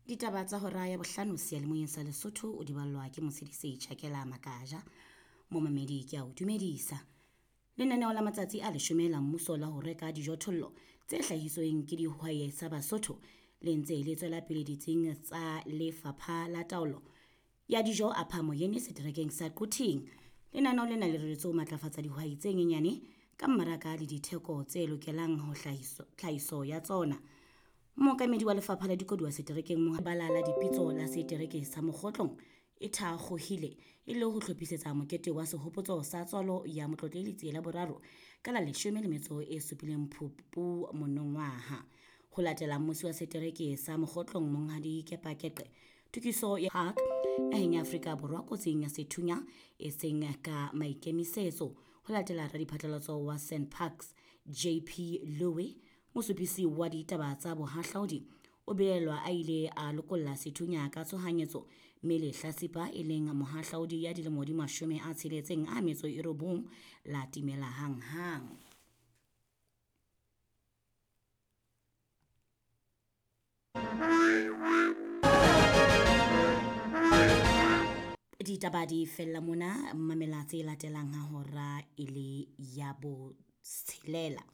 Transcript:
Ditaba tsa hora ya bohlano seyalemoyeng sa Lesotho o di ballwa ke Motshedisi Tjhakela Makaja. Momamedi ke a o dumedisa. Lenaneo la matsatsi a leshome la mmuso la ho reka dijothollo tse hlahisweng ke dihwai sa Basotho le ntse le tswela pele ditsing tsa Lefapha la Taolo ya Dijo a Phamoyene seterekeng sa Quthing. Lenaneo lena le reretswe ho matlafatsa dihwai tse nyenyane ka mmaraka le ditheko tse lokelang ho tlhahiso ya tsona. Mookamedi wa lefapha la dikoduwa seterekeng Bala la dipitso la setereke sa Mokgotlong e thakgohile e le ho hlophisetsa mokete wa sehopotso sa tswalo ya Motlotlehi Letsie la Boraro ka la 17 Phupu monongwaha. Ho latela mmusi wa setereke sa Mokgotlong Monghadi Kepa Keqe, tokiso ya Park naheng ya Afrika Borwa kotsing ya sethunya e seng ka maikemisetso. Ho latela radiphatlalatso wa SANParks JP Louw, mosupisi wa ditaba tsa bohahlaudi o belaellwa a ile a lokolla sethunya ka tshohanyetso mme lehlatsipa e leng mohahlaudi ya dilemo di 69 la timela hanghang. Ditaba di fella mona, mamela tse latelang ha hora e le ya botshelela.